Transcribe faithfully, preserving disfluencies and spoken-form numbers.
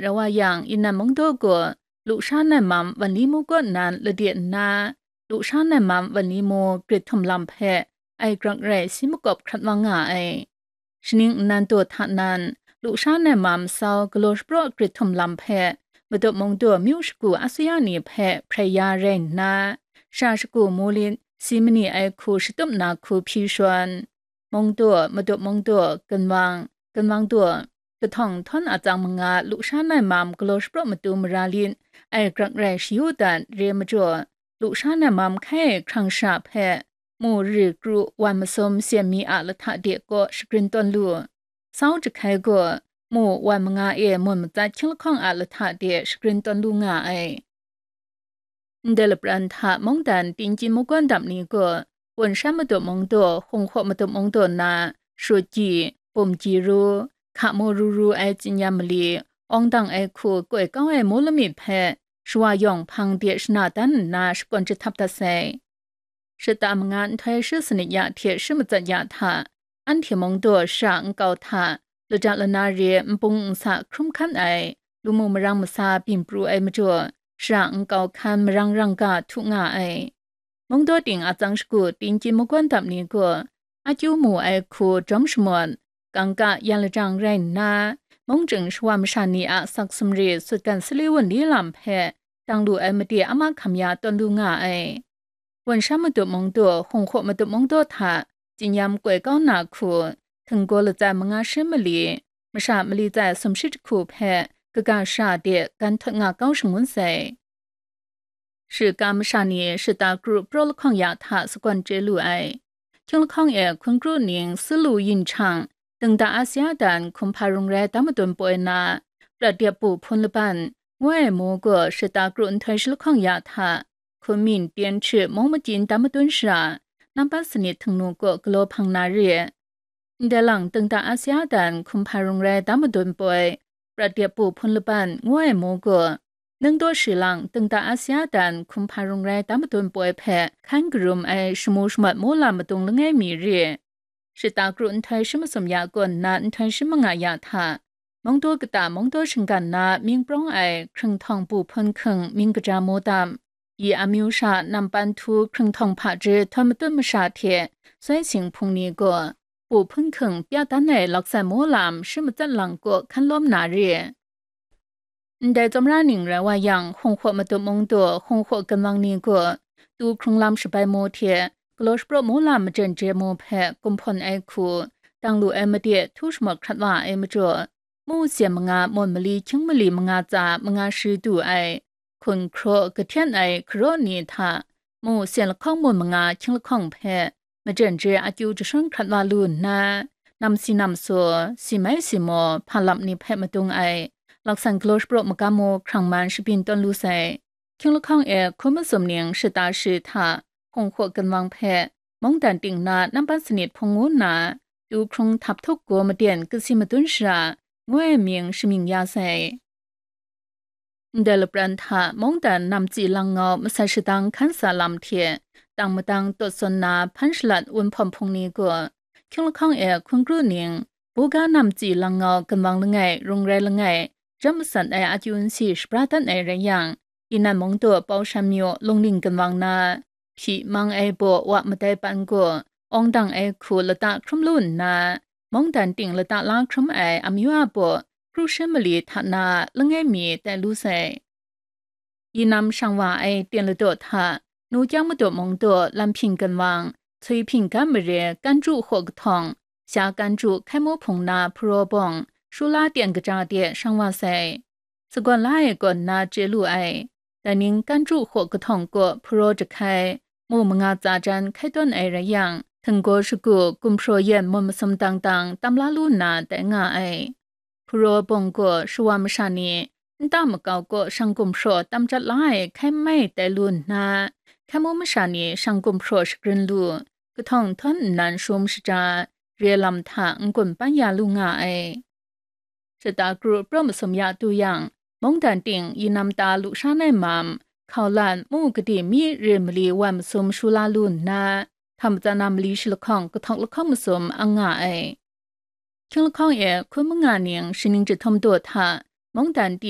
Rau wa yang, inan mungdaw gaw lusha nai mam Wanli mu kaw nan lade nna, lusha nai mam Wanli mu grit htum lam hpe ai grak rai si makawp hkrat wa nga ai. Shaning nnan daw hta nan, lusha nai mam sau galaw shapraw grit htum lam hpe, Madaw mungdaw myu shagu asuya ni hpe hprai ya rai nna, sha shagu mu lit si mani ai hku shatup na hku hpyi shawn, mungdaw, Madaw mungdaw, ginwang, ginwang daw, kahtawng htawn atsang manga lusha nai mam galaw shapraw matu mara lit ai grak rai shayu dat re majaw, lusha nai mam hkai hkrang sha hpe mu ri kru wan masum syen mi a lahta de kaw shagrin tawn lu. Sau jahkai gaw mu wan manga e mun matsat hkying lahkawng a lahta de shagrin tawn lu nga ai. Ndai lapran hta mungdan Tingkyin mungkawn dap ni gaw, Wun shan matup mungdaw, Hung hkaw matup mungdaw na, Shut Gyi, Bum Gyi Ru, Hka Mu Ru Ru ai tsinyam mali, awng dang ai hku koi kau ai mu lamik hpe, shawa yawng hpang de shana dan nna shakawn jahtap dat sai. Shata manga nhtoi shi sanit ya hte shi matsat ya hta, anhte mungdaw shara nkau hta, laja lana re npung nsa hkrum hkan ai, lu mu marang masa byin pru ai majaw, shara nkau hkan marang rang ga htu nga ai. Mungdaw ting atsang shagu Tingkyin mungkawn dap ni gaw, akyu mu ai hku jawm shamawt, kangka yan lajang rai nna, mung jing shawa masha ni a sak sumri sutgan sali wunli lam hpe dang lu ai made a mahkam ya tawn lu nga ai. Wun shan matup mungdaw, Hung hkaw matup mungdaw hta tsinyam koi kau na hku, htinggaw latsa manga shi mali, masha mali tsai sumshi jahku hpe kaga sha de gan htawt nga kau shangun sai. Shiga masha ni shata kru praw lahkawng ya hta sagawn chye lu ai. Hkying lahkawng e hkun kru ning Silu Yin Chang, Dingda Asia dan hkum hpa rung rai dam madun poi na, Prat Dep Bu Hpun Laban, ngu ai mu gaw shata kru nhtoi shi lahkawng ya hta, Hkun Min Tyen Hkrit mung majin dam madun shara, Nampat Sanit Htingnu kaw galaw hpang na re. Ndai lang Dingda Asia dan hkum hpa rung rai dam madun poi, Prat Dep Bu Hpun Laban ngu ai mu gaw, Ningdaw Shi lang Dingda Asia dan hkum hpa rung rai dam madun poi hpe hkan karum ai shamu shamat mu lam madung langai mi re. Shata kru nhtoi shi masum ya kaw nna nhtoi shi manga ya hta, mungdaw kata mungdaw shinggan na mying prawng ai hkrung htawng Bu Hpun Hking mying kaja mu dam, yi amyu sha Nampan Htu hkrung htawng hpaji htawn matut masha hte soi sing hpung ni gaw, Bu Hpun Hking pya dan ai laksan mu lam shi matsat lang kaw hkan lawm na re. Ndai tsawmra ning rai wa yang, Hung hkaw matup mungdaw, Hung hkaw ginwang ni gaw, tu hkrung lam shabai mu hte, galaw shapraw mu lam majen je mu hpe kumhpawn ai hku, dang lu ai made htu shamawt hkrat wa ai majaw, mu syen manga, mun mali hkying mali manga tsa manga shi du ai, hkun hkraw kahten ai hkaraw ni hta, mu syen lahkawng mun manga hkying lahkawng hpe, majen je akyu jashawn hkrat wa lu nna, nam si nam saw, si mai si maw, hpa lap ni hpe madung ai, laksan galaw shapraw magam mu hkrang man shabyin tawn lu sai. Hkying lahkawng e hkun masum ning shata shi hta, Hung hkaw ginwang hpe, mungdan ting na Nampat Sanit Hpung ngu nna, tu hkrung htap htup gaw maden kasi madun shara, ngu ai mying shamying ya sai. Ndai lapran hta mungdan namtsi langngau masat shadang hkan sa lam hte, tang madang tawt sawn na hpan shalat wunhpawm hpung ni gaw, hkying lahkawng e hkun kru ning, buga namtsi langngau ginwang langai, rung rai langai, jam masat ai akyu nsi shabra dat ai rai yang, inan mungdaw Pau Shan Myaw lungning ginwang na, hpyi mang ai baw wa madai pan gaw, awng dang ai hku lata hkrum lu nna, mungdan ting lata la hkrum ai amyu a baw, kru shi mali hta na langai mi tai lu sai. Yinam shang wa ai ten ladaw hta, nu kyang madaw mungdaw lam hpyin ginwang, chui hpyin gan mare, kan ju hkaw kahtawng, sha kan ju hkai mu hpung na hparaw bawng, shula ten kaja de shang wa sai. Sagawn la ai kaw nna chye lu ai. Dai ning kan ju hkaw kahtawng kaw hparaw jahkai, mu manga tsa jan hkai tawn ai rai yang, htinggaw shagu gumhpraw yan mun masum dang dang tam la lu nna tai nga ai. Hparaw bawng gaw shawa masha ni, nta makau kaw shang gumhpraw tam jat la ai hkai mai tai lu nna, hkai mu masha ni shang gumhpraw shagrin lu, kahtawng htawn nnan shum shaja, re lam hta n-gun pan ya lu nga ai. Shata kru praw masum ya tu yang, mungdan ting yinam ta lusha nai mam, hkau lan mu kadi mi re mali wan masum shu la lu nna, htam matsan na mali shi lahkawng kahtawk lahkawng masum ang nga ai. Hkying lahkawng e hkun manga ning shaning jahtum daw hta, mungdan pyi